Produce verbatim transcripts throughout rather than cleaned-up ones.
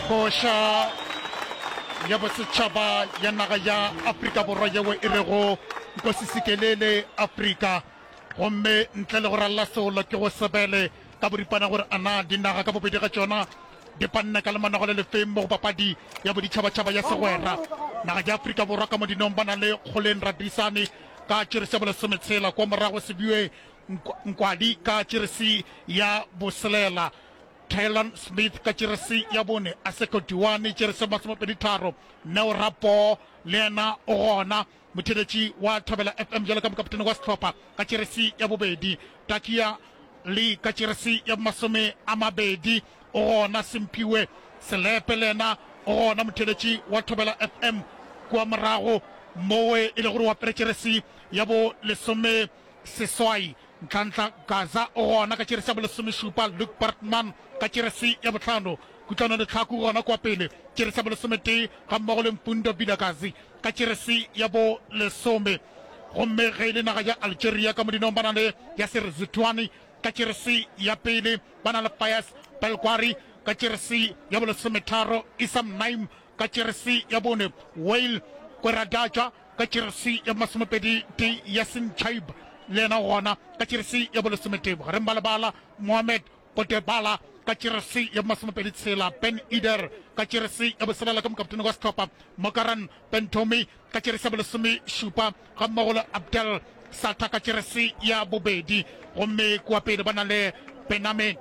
Koša ya bosetšhaba ya naga ya Afrika Borwa yeo e rego Nkosi Sikelele Afrika. Gomme ntle le go ralla seolo ke go sebele ka boripana gore a na dinaga ka bobedi ga tšona di panne ka lemanogo le lefeng mo go papadi ya boditšhabatšhaba ya segwera. Naga ya Afrika Borwa ka modinong ba na le Kgoleng Radisane ka tšeresi ya bolesometshela, kwa morago Sebiwe Nkwadi ka tšeresi ya boselela, Tylon Smith ka tšeresi ya bone, Aseko Diwani tšeresi ya masomepedi tharo, Neo Rapoo le yena o gona, motheeletši wa Thobela F M bjalo ka mokaptene wa sehlopha ka tšeresi ya bobedi, Takia Lee ka tšeresi ya masome a mabedi o gona, Simphiwe Selepe le yena o gona, motheeletši wa Thobela F M kua morago mowe e le gore o apere tšeresi ya bo lesome seswai. Ntlhantlha Gaza o gona ka tšeresi ya bolesomešupa, Luke Bartman ka tšeresi ya bohlano, Kutlwano Letlhaku gona kua pele tšeresi ya bolesometee gammogo le Mfundo Vilakazi ka tšeresi ya bo lesome. Gomme ge e le naga ya Algeria ka modinong ba na le Yasser Zitouani ka tšeresi ya pele, ba na le Fayez Belgwari ka tšeresi ya bolesometharo, Issam Naim ka tšeresi ya bone, Wael Kweradaja ka tšeresi ya masomepedi tee, Yasin Chaib le yena gona ka tšeresi ya bolesometee, bogareng ba lebala Mohamed Potebala ka tšeresi ya masomepedi tshela, Ben Eder ka tšeresi ya boselela ka mokaptene wa sehlopha Mokaran Bentomi ka tšeresi ya bolesomešupa gammogo le Abdel Sata ka tšeresi ya bobedi. Gomme kua pele ba na le Bename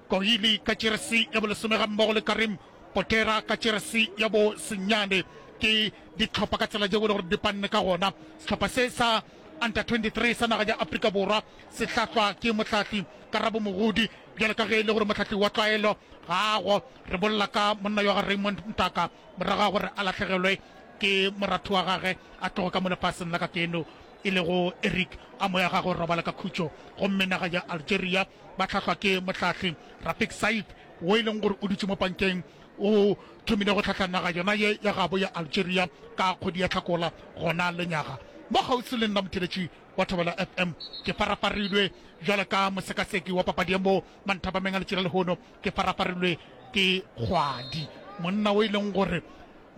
Kohili ka tšeresi ya bolesome gammogo le Karim Potera ka tšeresi ya bo senyane. Ke dihlopha ka tsela yeo e le gore di panne ka gona. Sehlopha se sa Under twenty-three sa naga ya Afrika Borwa se hlahlwa ke mohlahli Karabo Mogodi, bjalo ka ge e le gore mohlahli wa tlwaelo gago. Re bolela ka monna yo ga Raymond Mtaka morago ga gore a lahlegelwe ke moratho wa gage a tloge ka mo lefaseng la kakeno e lego Eric, a moya gagwe robala ka khutšo. Gomme naga ya Algeria ba hlahlwa ke mohlahli Rafik Saif wo e leng gore o dutše mo pankeng, o thomile go hlahla naga yona ye ya gabo ya Algeria ka kgwedi ya Hlakola gona lenyaga. Mo kgauswi le nna motheeletši wa Thobela F M ke farafarilwe bjalo ka mosekaseki wa papadi ya mo manthapameng a letšatši la lehono, ke farafarilwe ke Kgwadi, monna o e leng gore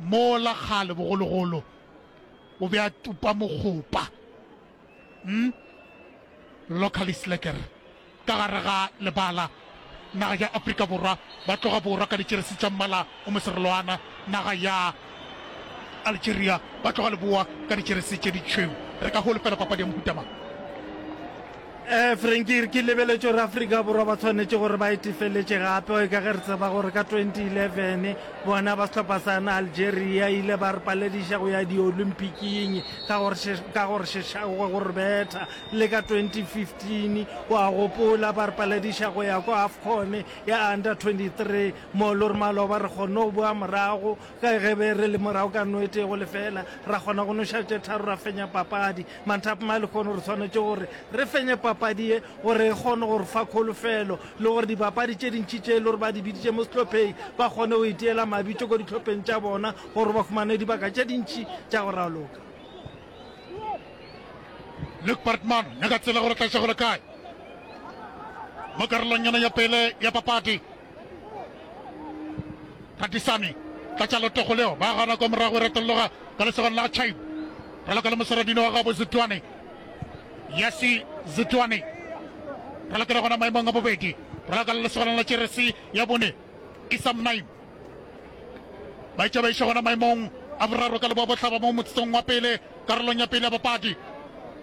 mola kgale bogologolo o be a tupa mokgopa, mm, locally slacker, ka gare ga lebala. Naga ya Afrika Borwa ba tloga borwa ka ditšeresi tša mmala o moserolwana, naga ya Algeria ba tloga leboa ka ditšeresi tše ditšhweu. Re ka holofela papadi ya mohuta mang? Eh, Frankie, ke lebeletše gore Afrika Borwa ba tshwanetše gore ba itefeletše gape, ka ge re tseba gore ka twenty eleven bona ba sehlopha sa na Algeria ile ba re palediša go ya di-Olympiking ka gore ka gore šeša go re betha. Le ka twenty fifteen wa gopola ba re palediša go ya kwa AFCON ya under twenty-three, mo le gore maloba re kgonne go boa morago ka ge be re le morago ka no e tee go lefela, ra kgona go noša tše tharo ra fenya papadi. Manthapama a lehono re swanetše gore re fenye papadi ye gore e kgone go re fa kholofelo le gore dibapadi tše dintši tše e le gore ba di biditše mo sehlopheng ba kgone go iteela mabitso ko dihlopheng tša bona gore ba humane dibaka tše dintši tša go raloka. Luke Bartman nyaka tsela gore tla iša go le kae mo karolong yona ya pele ya papadi. Radisane tlatša letogo leo ba gana kwa morago e retologa ka lesogong la Chaib, raloka le moseradino wa gabo Zitwane, Yasi Zitwane ralokela gona maemong a bobedi, raloka le lesogong la tšeresi ya bone Isam Naim, ba etša ba iša gona maemong a boraro ka leboa bohlaba mo motsotsong wa pele karolong ya pele ya papadi.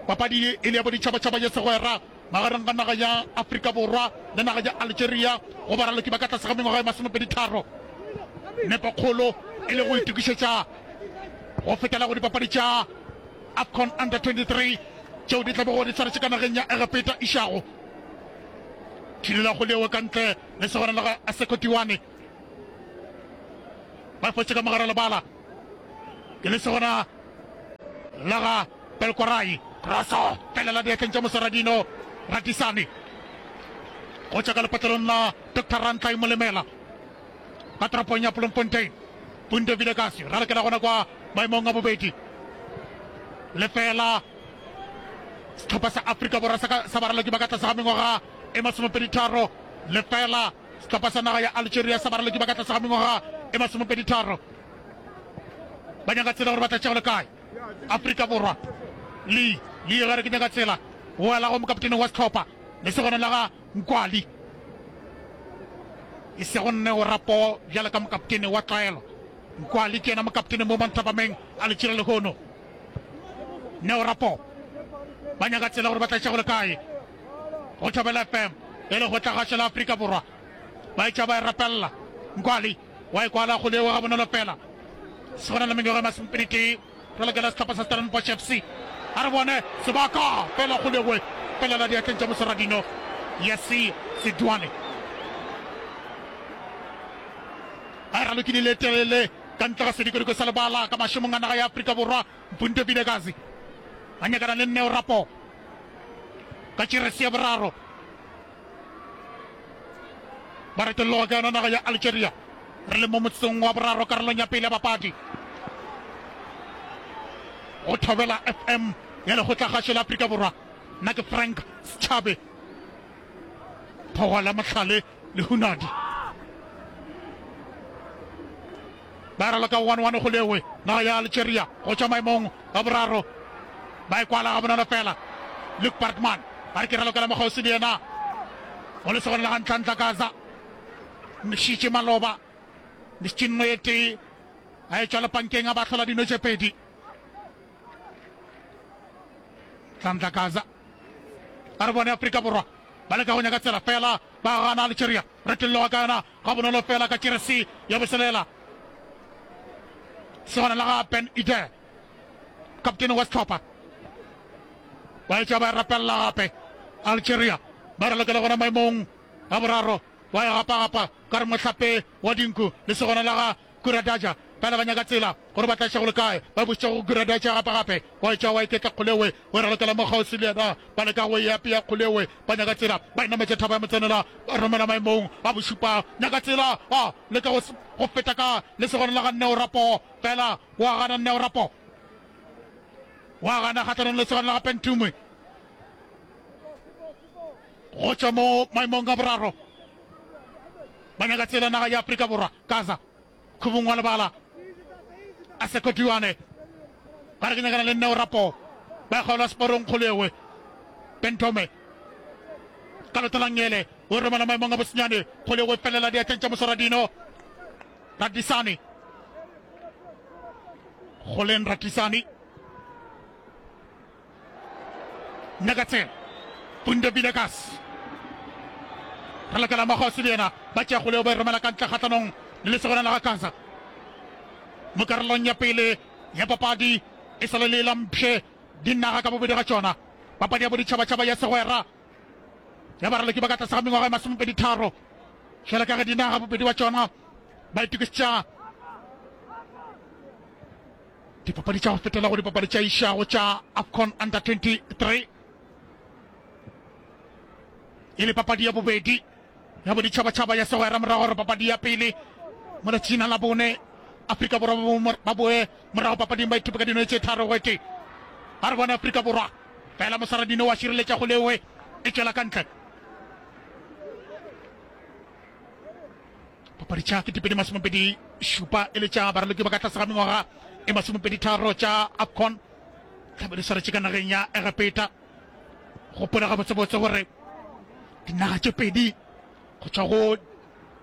Papadi ye e le ya boditšhabatšhaba ya segwera magareng ga naga ya Afrika Borwa le naga ya Algeria go baraloki ba ka tlase ga mengwaga e masomepedi tharo. Nepokgolo e le go itokišetša go fetela go dipapadi tša AFCON Under twenty-three tšeo di tla bego di swaretše ka nageng ya Egepeta išago. Thirela go lewe ka ntle le segwana la ga Aseko Tiwane. Ba fotše ka mogare lebala ke le segwana la ga Belkorai. Kroso felela diatleng tša Moseradino Radisane go tšwa ka lepatlelong la Doctor Rantlai Molemela ka toropong ya Bloemfontein. Punto Vilakazi ralokela gona kwa maemong a bobedi. Lefela sehlopha sa Afrika Borwa sa baraloki ba ka tlase ga mengwaga e masomepedi tharo, lefela Sehlopha sa naga ya Algeria sa baraloki ba ka tlase ga mengwaga e masomepedi tharo ba nyaka tsela gore ba tla tšea go le kae. Afrika Borwa Lee Lee gare ke nyaka tsela go ela go mokaptene wa sehlopha lesogana la ga Nkwali e sego nne o rapo bjalo ka mokaptene wa tlwaelo. Nkwali ke yena mokaptene mo manthapameng a letšila lehono. Neo Rapo ba nyaka tsela gore ba tla tšea go le kae go Thobela F M e le go tla gašo la Afrika Borwa. Ba etša ba e rapelela. Nkwali wa e kwala kgole eo gabonolo fela. Segona le mengwaga e masomepedi tee re lokela sehlopha sa Stellenbosch F C. A re bone sebaka fela kgole eo felela diatleng tša moswaradino Yesi Sedwane. A e ralokile le telele ka ntle ga sedikodiko sa lebala ka mašemong a naga ya Afrika Borwa. Mpunto Vilakazi a nyakana le Neo Rapo ka tšerese ya boraro. Ba retolloga ka yona naga ya Algeria. Re le mo motsotsong wa boraro karolong ya pele ya papadi. Go Thobela F M ya Lekgotlakgašo la Afrika Borwa. Nna ke Frank Setšhabe. Phogwa la Mohlale le Hunadi. Ba raloka one one go lewe naga ya Algeria go tšwa maemong a boraro. Ba e kwala gabonolo fela. Luke Bartman ba re ke ralokela mokgauswi le yena go lesogana la ga Ntlantla Gaza. Mšitše maloba Mšitše nno ye tee a e tšwa lepankeng a ba hlola dino tše pedi. Ntlantla Gaza a re bone Afrika Borwa ba leka go nyaka tsela fela ba gana Algeria. Retolloga ka yona gabonolo fela ka jeresi ya boselela. Segwana la ga Ben Ide, kaptene wa sehlopha. Ba etša ba e rapelela gape. Algeria ba ralokela gona maemong a boraro, ba e gapagapa ka re mohlape wa dinku. Lesogana la ga Kuradaja fela ba nyaka tsela gore ba tla iša go le kae. Ba bušetša go Kuradaja gape gape. Wa etša wa iketla kgolewe, o e ralokela mo kgauswi le yena. Ba leka go e apea kgolewe, ba nyaka tsela. Ba e nametša thaba ya motsenela, ba romela maemong a bošupa. Nyaka tsela, ba leka go, go feta ka lesogana la ga Neo Rapo. Fela wa gana Neo Rapo. Wa gana kgahlanong le lesogana la ga Pentume. Go tšwa mo maemong a boraro. Ba nyaka tsela naga ya Afrika Borwa. Gaza, khubung wa lebala. A Sekotiwane. Ba re ke nyakana le Neo Rapo. Ba kgaola seporong kgolewe. Bentome. Ka leoto la ngele. O romela maemong a bosenyane. Kgolewe felela diatleng tša moswaradino. Radisane. Goleng Radisane. Nyakatsela Pundo Villegas re lokela Magosi le yena ba tšea kgoleo ba e romela ka ntle kgahlanong le lesogana la ga Gaza mo karolong ya pele ya papadi e sa le le la mpšhe dinaga ka bobedi ga tšona. Papadi ya boditšhabatšhaba ya segwera ya baraloki ba ka tlase ga mengwaga e masomepedi tharo fela ka ge dinaga bobedi wa tšona ba itokišetša Dipapadi tša go fetela go dipapadi tša išago tša AFCON Under twenty-three e le papadi ya bobedi ya boditšhabatšhaba ya segwera morago gore papadi ya pele mo letšatšing la bone Afrika Borwa ba boe morago papading ba ithupe ka dino tše tharo go tee. A re bone Afrika Borwa fela moswaradino wa šireletša go lewe e tšwela ka ntle. Papadi tša ketepedi masomepedi šupa e le tša baraloki ba ka tlase ga mengwaga e masomepedi tharo tša AFCON tlabe di swaretše ka nageng ya Egepeta. Gopola gabotsebotse gore dinaga tše pedi go tšwa go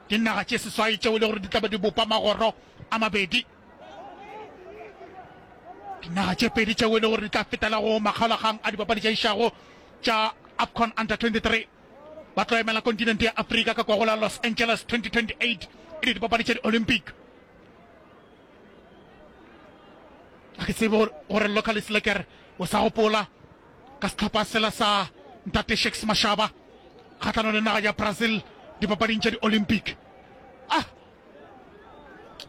dinaga tše seswai tšeo e le gore di tlabe di bopa magoro a mabedi, dinaga tše pedi tšeo e le gore di tla fetela go makgaolakgang a dipapadi tša išago tša AFCON Under twenty-three ba tlo emela kontinente ya Afrika ka kwa go la Los Angeles twenty twenty-eight e le dipapadi tša di-Olympic. Ga ke tsebe gore Localis Lekker o sa gopola ka sehlopha sela sa Ntate Shakes Mashaba kgahlanong le naga ya Brazil dipapading tša di-Olympic. Ah!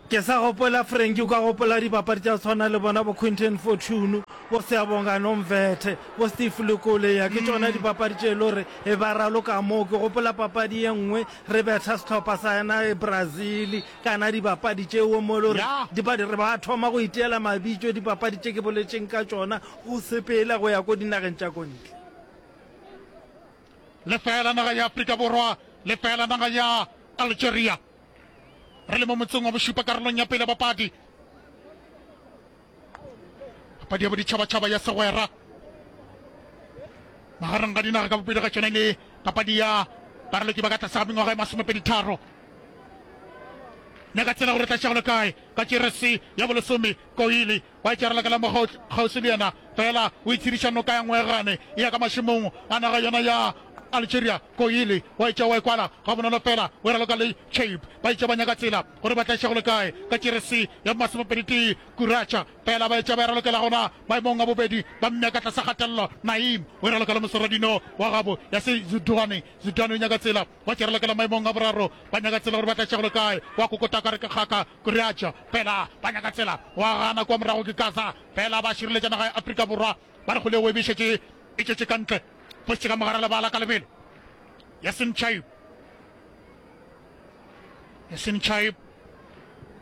Ke sa gopola Frankie, o ka gopola dibapadi tša go tshwana le bona bo Quinton Fortune, bo Siyabonga Nomvethe, bo Steve Lekoleya, ke tšona dipapadi tše e le gore e ba raloka moo. Ke gopola papadi ye nngwe re betha sehlopha sa yena Brazil kana dibapadi tšeo mo e le gore dipadi re ba thoma go iteela mabitso dipapadi tše ke boletšeng ka tšona go sepela go ya ko dinageng tša ko ntle. Lefeela naga ya Afrika Borwa, lefeela naga ya Algeria. Re le mo motseng wa bošupa karolong ya pele papadi. Papadi ya boditšhabatšhaba ya segwera magareng ga dinaga ka bobedi ga tšona le papadi ya baraloki ba ka tlase ga mengwaga e masomepedi tharo. Nyaka tsela gore tla šego le kae ka jeresi ya bolesome Koili wa itšarela ka la mo kgauswi le yena fela o itshediša noka ya Ngwegane e ya ka mašemong a naga yona ya Algeria. Koili wa itša wa ikwala ga bonolo fela o raloka le Chape ba itša ba nyaka tsela gore ba tla šego le kae ka jeresi ya masomepedi tee Kuracha fela ba itša ba ralokela gona maemong a bobedi ba mmea ka tlase kgatelelo. Naim o raloka le mosoradino wa gabo ya se Zidane. Zidane o nyaka tsela wa tšerelekela maemong a boraro ba nyaka tsela gore ba tla šego le kae wa kokota ka re ke kgaka Kuracha fela ba nyaka tsela wa gana kwa morago ke Gaza fela ba šireletša naga ya Afrika Borwa ba re kgole o emišetše e tšetše ka ntle fošitše ka mogare lebala ka lebelo. Yasin Chaib Yasin Chaib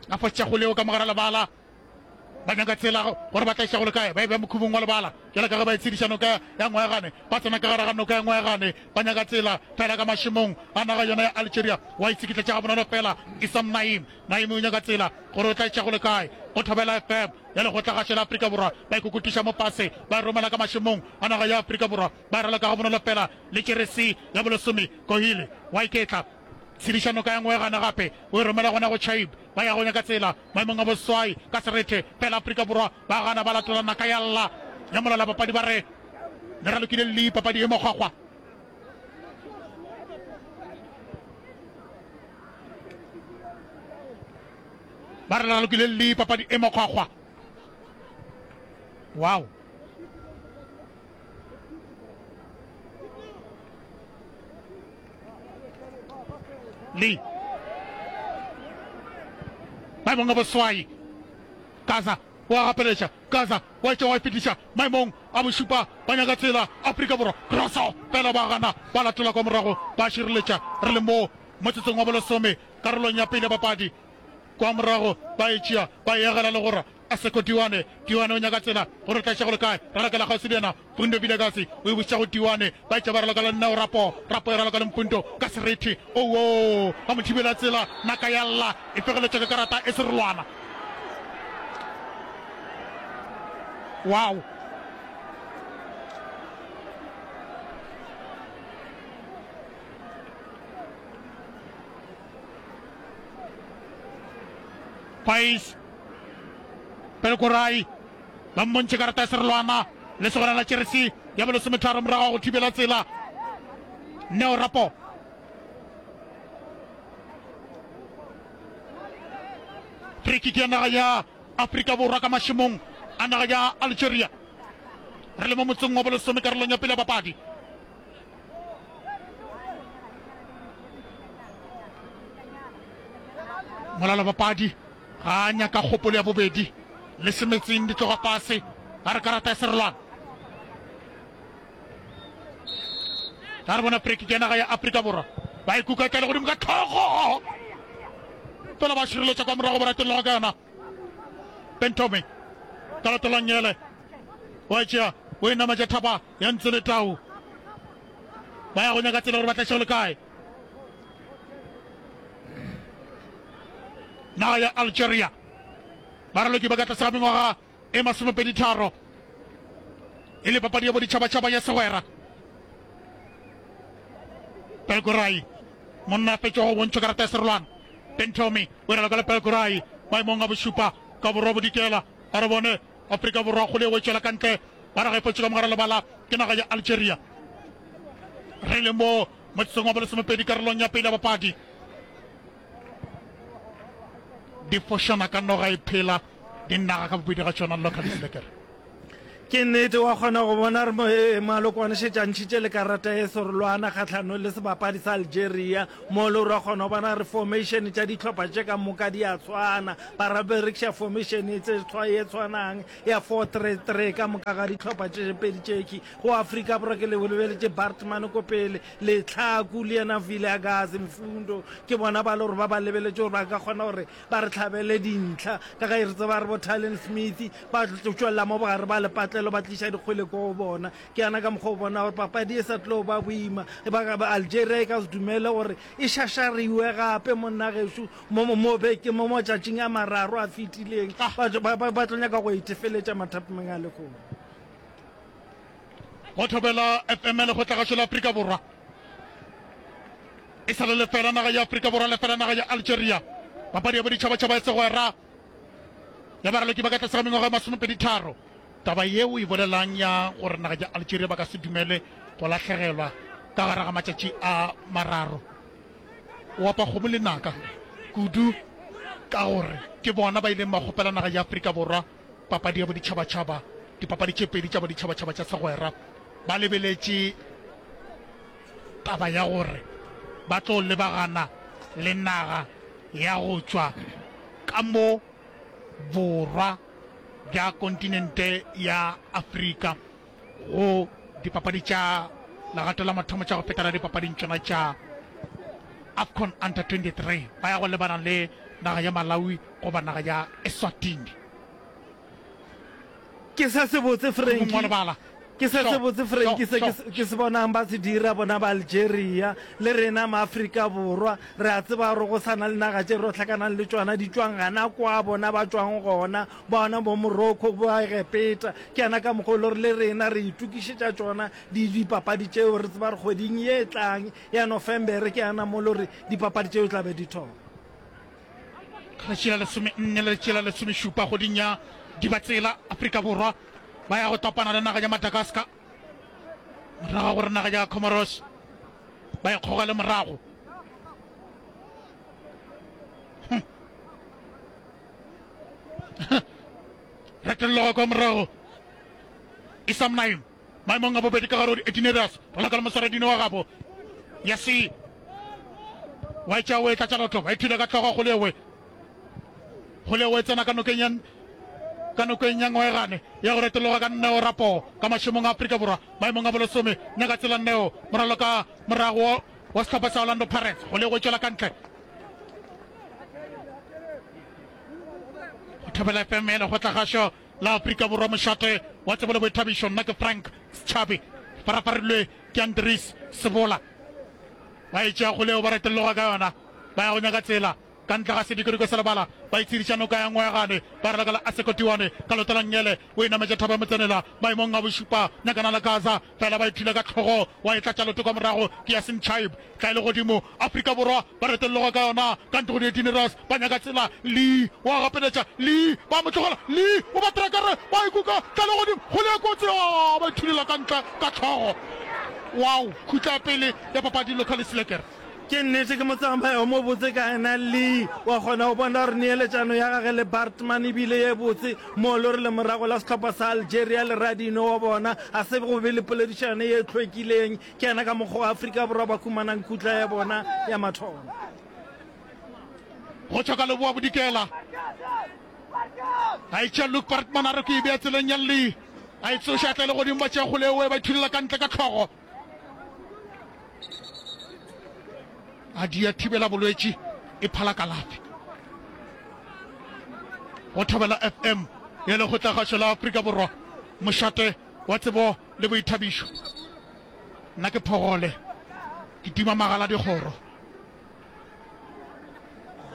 a fošitše kgole o ka mogare lebala ba nyaka tsela gore ba tla išago le kae ba e bea mokhubong wa lebala jalo ka ge ba e tshediša noka ya Ngwegane ba tsena ka gare ga noka ya Ngwegane ba nyaka tsela fela ka mašemong a naga yona ya Algeria wa itshikitletša ga bonolo fela Isam Naim Naim o nyaka tsela gore o tla išago le kae go Thobela F M ya lekgotlagašo la Afrika Borwa ba ikokotiša mo pase ba e romela ka mašemong a naga ya Afrika Borwa ba e raloka ga bonolo fela le jeresi ya bolesome Kohile wa iketla tshediša noka ya Ngwegane gape o e romela gona go Chaib ba ya go nyaka tsela maemong a boswai ka serethe fela Afrika Borwa ba gana ba latola naka ya lla ya molala papadi ba re le ralokile le papadi e mokgwakgwa. Ba re ralokile le papadi e mokgwakgwa. Wow. Le maemong a boswai Gaza wa gapeletša Gaza wa etša wa e fetiša maemong a bošupa ba nyaka tsela Afrika Borwa crosso fela ba gana ba latola kwa morago ba šireletša re le mo motsotsong wa bolesome karolong ya pele ya papadi kwa morago ba e tšea ba e agela le gora Aseko Diwane Diwane o nyaka tsela gore o tla išago le kae ralokela kgauswi le yena Mpundo Vilakazi o e bušetša go Diwane ba etša ba raloka le Neo Rapo Rapo e raloka le Mpundo ka serethe owoo ba mo thibela tsela naka ya lla e fegeletšwa ke karata e serolwana wow Pais Pelkorai ba mmontšhe karata ya serolwana le segona la jeresi ya bolesometharo morago ga go thibela tsela Neo Rapo. Free kick ya naga ya Afrika Borwa ka mašemong a naga ya Algeria. Re le mo motseng wa bolesome karolong ya pele ya papadi. Molala papadi ga a nyaka kgopolo ya bobedi le semetseng di tloga fase a re karata ya serolwana. Ga re bona free kick ya naga ya Afrika Borwa ba ikuka tlale godimo ka tlhogo fela ba šireletša kwa morago ba ratelelwa ka yona. Bentome ka latola nyele wa tšea o e nametša thaba ya ntse le tau ba ya go nyaka tsela gore ba tla le kae. Naga ya Algeria baraloki ba ka tlase ga mengwaga e masomepedi tharo e le papadi ya boditšhabatšhaba ya segwera. Pelkorai monna a fetšwa go bontšhwa karata ya serolwana. Bentomi o raloka le Pelkorai maemong a bošupa ka borwa bodikela. A re bone Afrika Borwa kgole e tšwela ka ntle ba re ga e fetše ka mogare lebala ke naga ya Algeria. Re le mo motsotsong wa bolesomepedi karolong ya pele ya papadi. Di fošana ka noga e phela dinaga ka bobedi ga tšona Locally Lekere. Ke nnete wa kgona go bona re malokwane šetše a ntšhitše le karata e serolwana kgatlhanong le sebapadi sa Algeria mo le gore wa kgona go bona re formation tša dihlopha tše ka moka di a tshwana ba ra berekiša formation e tse ye tshwanang ya four three three ka moka ga dihlopha tše pedi tšeki go Afrika Borwa ke le lebeletše Bartman ko pele Letlhaku le yena Vilakazi Mfundo ke bona ba le gore ba ba lebeletše gore ba ka kgona gore ba re tlhabele dintlha ka ge re tseba re bo Talon Smith ba tšwelela mo bogare ba le mapotlelo ba tliša dikgwele ko go bona. Ke yana ka mokgwa o bona gore papadi e sa tlo ba boima. Ba, ba Algeria e ka se dumele gore e šašariwe gape monna gešo mo mo mo beke mo matšatšing a mararo a fetileng. Ah. Ba, ba, ba, ba tlo nyaka go itefeletša mathapameng a lehono. Go thobela F M lekgotlagašo la Afrika Borwa. E sa le lefela naga ya Afrika Borwa, lefela naga ya Algeria. Papadi ya boditšhabatšhaba ya segwera ya baraloki ba ka tlase ga mengwaga ya masomepedi tharo. Taba yeo e bolelang ya gore naga ya Algeria ba ka se dumele go lahlegelwa ka gare ga matšatši a mararo. O apa kgomo le naka kudu ka gore ke bona ba ileng ba kgopela naga ya Afrika Borwa papadi ya boditšhabatšhaba, dipapadi tše pedi tša boditšhabatšhaba tša segwera. Ba lebeletše taba ya gore ba tlo lebagana le naga ya go tšwa ka mo borwa bja kontinente ya Afrika go dipapadi tša legato la mathomo tša go fetela dipapading tšona tša AFCON Under twenty-three. Ba ya go lebana le naga ya Malawi goba naga ya Eswatini. Ke se sebotse Frankie. Mongwe wa lebala. Ke se Sure, sebotse Frankie, sure, se ke sure. ke se bonang ba se dira bona ba Algeria le rena maAfrika Borwa. Re a tseba gore go sa na le naga tše re hlakanang le tšona di tšwang gana kwa bona ba tšwang gona, bona bo Morocco, bo Egepeta. Ke yana ka mokgwa o le gore le rena re itokišetša tšona di dipapadi tšeo, re tseba gore kgweding ye e tlang ya Nofemere ke yana mo le gore dipapadi tšeo tla be di thoma. Letšatši la lesome nne le letšatši la lesomešupa kgweding ya Dibatsela, Afrika Borwa ba ya go topana le naga ya Madagascar morago gore naga ya Comoros ba e kgogele morago. Hm. Retelloga kwa morago Isam Naim maemong a bobedi ka gare go di-eighteen areas raloka le moswaradino wa gabo ya se wa etša o e tlatša lotlo ba ithule ka hlogo kgolewe kgolewe e tsena ka nokeng ya ka nokeng ya Ngwegane ya go retologa ka Neo Rapo ka mašemong a Afrika Borwa maemong a bolesome nyaka tsela Neo moralo ka morago wa sehlopha sa Orlando Pirates kgolewe e tšwela ka ntle go thobela F M ya lekgotlagašo la Afrika Borwa mošate wa tsebo le boithabišo. Nna ke Frank Setšhabi, farafarilwe ke Andries Sebola. Ba e tšea kgoleo ba retologa ka yona ba ya go nyaka tsela ka ntle ga sedikodiko sa lebala ba itshediša noka ya Ngwegane ba raloka la Asekotiwane ka leoto la nngele o e nametša thaba ya motsenela maemong a bošupa nyakana la Gaza fela ba e thula ka hlogo wa e tlatša leoto ka morago ke Yasin Chaib tla e le godimo Afrika Borwa ba retologa ka yona ka ntlo go di-eighteen ba nyaka tsela Lee wa gapeletša Lee ba mo tlogela Lee o ba trekere ba ikuka tla le godimo kgole ya kotsi ba e thulela ka ntle ka hlogo. Wow, khutla ya pele ya papadi Local Slekere. Ke nnete ke motsamai o mobotse ka yena Lee, wa kgona go bona gore neeletšano ya gage le Baartman e bile ye botse mo le gore lemorago la sehlopha sa Algeria le radino wa bona ga se go be le poledišano ye hlwekileng. Ke yena ka mokgwa wa Afrika Borwa ba humanang khutla ya bona ya mathomo. Go tšwa ka leboa bodikela a etša Luke Baartman a re ke e bea tseleng ya Lee, a e tsoša tla le godimo ba tšea kgole ewe ba ithulela ka ntle ka hlogo. A dia thibela bolwetši e phala kalafi. Go thobela F M ya lekgotlagašo la Afrika Borwa mošate wa tsebo le boithabišo. Nna ke phogole ke tima magala dikgoro.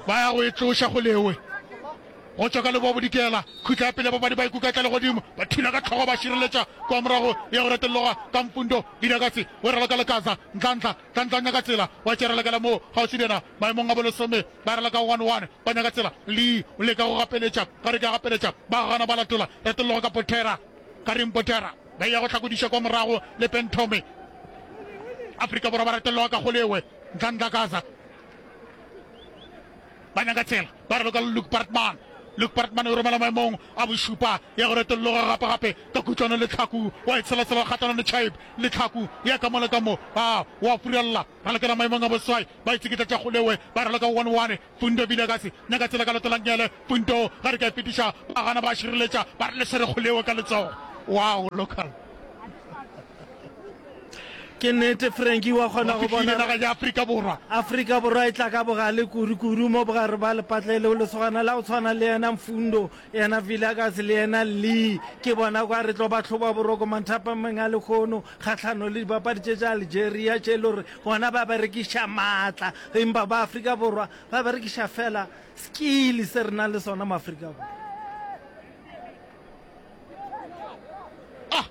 Ba ya go e tloša go lewe go tšwa ka leboa bodikela. Khutla ya pele babadi ba ikuka tla le godimo ba thula ka hlogo ba šireletša kwa morago ya go retologa ka Mfundo Vilakazi o raloka le Kaza Ntlantla Ntlantla o nyaka tsela wa tšea ralokela moo kgauswi le yena maemong a bolesome ba raloka one one ba nyaka tsela Lee o leka go gapeletša ga re ke a gapeletša ba gana ba latola retologa ka Potera Karim Potera ba ya go hlakodiša kwa morago le Pentome Afrika Borwa ba retologa ka kgolewe Ntlantla Kaza ba nyaka tsela ba raloka le Luke Baartman Luke Baartman o romela maemong a bošupa ya go retologa gape gape ka kutlwano le tlhaku wa e tshelasela kgatlhanong le Chaib le tlhaku ya ka mo le ka mo a wa furella ralokela maemong a boswai ba itseketla tša kgolewe ba raloka one one Fundo Vilakazi nyaka tsela ka leoto la nngele Fundo ga re ka e fetiša ba gana ba šireletša ba re le swere kgolewe ka letsogo. Wow local. Ke nnete Frankie wa kgona go bona naga ya Afrika Borwa. Afrika Borwa e tla ka bogale kudu kudu mo bogare ba lepatlelo lesogana la go tshwana le yena Mfundo yena Vilakazi le yena Lee ke bona kwa re tlo ba hloba boroko manthapameng a lekgono kgahlano le dipapadi tše tša Algeria tše e le gore bona ba berekiša maatla empa ba Afrika Borwa ba berekiša fela skill se re nang le sona mo Afrika Borwa. Ah!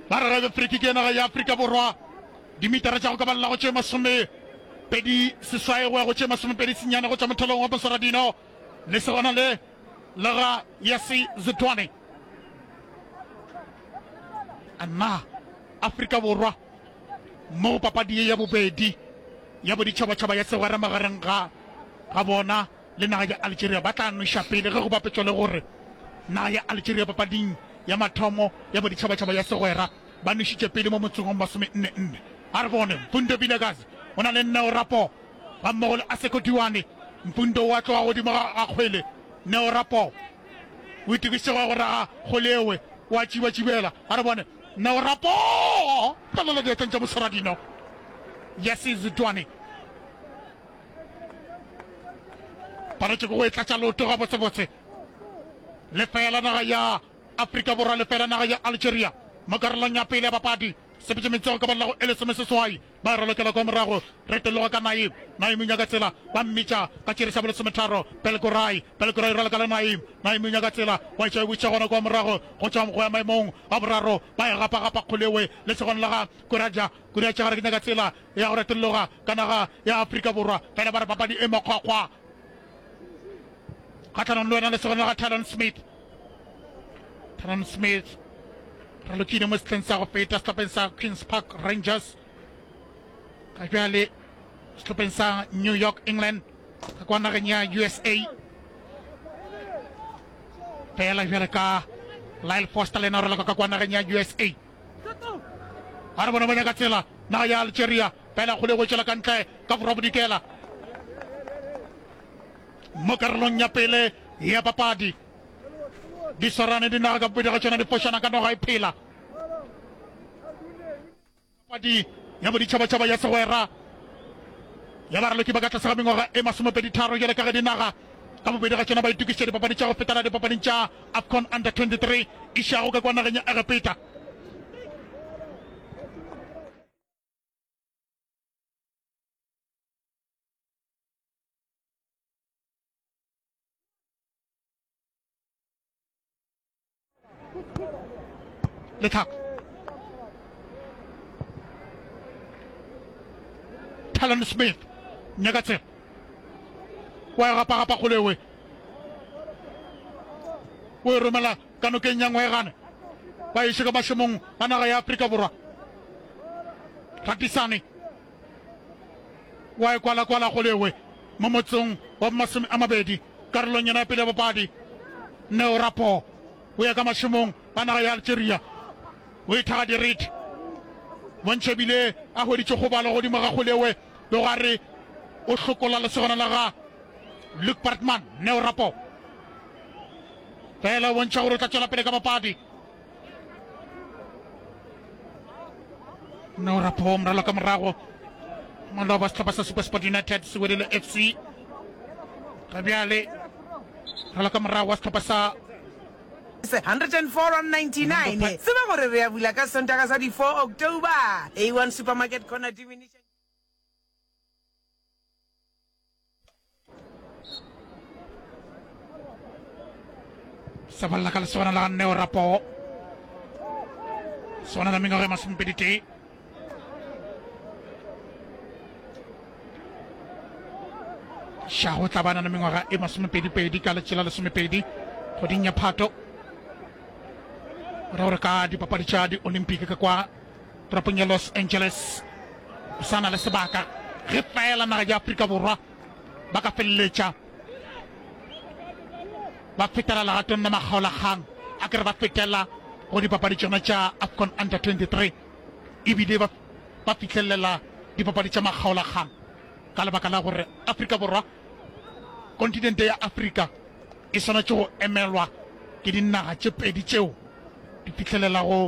Ba re rabe free kick ya naga ya Afrika Borwa dimitara tša go ka balela go tše masome pedi seswai go ya go tše masomepedi senyane go tšwa mothalong wa Moswaradino lesogana le la ga Yasi Zidwane. A na Afrika Borwa mo go papadi ye ya bobedi ya boditšhabatšhaba ya segwera magareng ga ga bona le naga ya Algeria ba tla nweša pele ge go bapetšwa le gore naga ya Algeria papading ya mathomo ya boditšhabatšhaba ya segwera ba nwešitše pele mo motsong wa masome-nne nne. A re bone, Mfundo Vilakazi o na le Neo Rapoo gammogo le Aseko Diwane. Mfundo o a tloga godimo ga ga kgwele. Neo Rapoo o itokišitše go ya go raga kgwele ewe, o a tšibatšibela. A re bone, Neo Rapoo! Felela diatleng tša moswaradino Yasi Zidwane. Paletšwe ke go e tlatša leoto gabotsebotse. Lefeela naga ya Afrika Borwa, lefeela naga ya Algeria mo karolong ya pele ya papadi. Sepetše metsogo ka balela go e lesomeseswai. Ba e ralokela kwa morago. Retologa ka Naim. Naim o nyaka tsela. Ba mmitša ka tšere sa bolesometharo. Belgorai. Belgorai o raloka le Naim. Naim o nyaka tsela. Wa etša e buša gona kwa morago. Go tšwa go ya maemong a boraro. Ba e gapa-gapa kgolewe lesogong la ga Kuraja. Kuraja gare ke nyaka tsela ya go retologa ka naga ya Afrika Borwa. Fela ba re papadi e makgwakgwa. Kgahlanong le wena lesogana la ga Talon Smith. Talon Smith ralokile mo sehleng sa go feta sehlopheng sa Queens Park Rangers. Ga bjale sehlopheng sa New York England ka kwa nageng ya U S A. Fela bjale ka Lyle Foster le yena o raloka ka kwa nageng ya U S A. A re bone ba nyaka tsela naga ya Algeria fela kgole go tšwela ka ntle ka borwa bodikela mo karolong ya pele ya papadi. Di swarane dinaga ka bobedi ga tšona di fošana ka noga e phela. Papadi ya boditšhabatšhaba ya segwera ya baraloki ba ka tlase ga mengwaga e masomepedi tharo bjale ka ge dinaga ka bobedi ga tšona ba itokišitše dipapadi tša go fetela dipapading tša AFCON Under twenty-three išago ka kwa nageng ya Egepeta. Lethako Talon Smith nyaka tsela wa e gapa-gapa kgolewe o e romela ka nokeng ya ngwegane ba iše ka mašemong a naga ya Afrika Borwa. Ratisane wa e kwalakwala kgolewe mo motsong wa masome a mabedi karolong yona ya pele ya papadi. Neo Rapo o ya ka mašemong a naga ya Algeria o ithaga dirite bontšha ebile a hweditše kgobalo godimo ga kgolewe le go a re o hlokola lesogana la ga Luke Bartman. Neo Rapo fela o bontšha gore o tla tšwela pele ka papadi. Neo Rapo moralo ka morago maloba sehlopha sa SuperSport United se wedile F C ga bjale ralo ka morago wa sehlopha sa hundred and four rand ninety nine. Tseba gore re ya bula ka Sontaga sa di four October. A one Supermarket corner diminished. Sa bolela ka lesogana la ga Neo Rapoo, sona la mengwaga e masomepedi tee. Šago tla bana le mengwaga e masomepedi-pedi ka letšela lesomepedi kgweding ya Phato. Go ra gore ka dipapadi tša di-Olympic ka kwa toropong ya Los Angeles o sa na le sebaka ge fela naga ya Afrika Borwa ba ka feleletša ba fetela legatong la makgaolakgang a ke re ba fetela go dipapadi tšona tša AFCON Under twenty-three ebile ba ba fihlelela dipapadi tša makgaolakgang ka lebaka la gore Afrika Borwa kontinente ya Afrika e swanetše go emelwa ke dinaga tše pedi tšeo di fihlelelago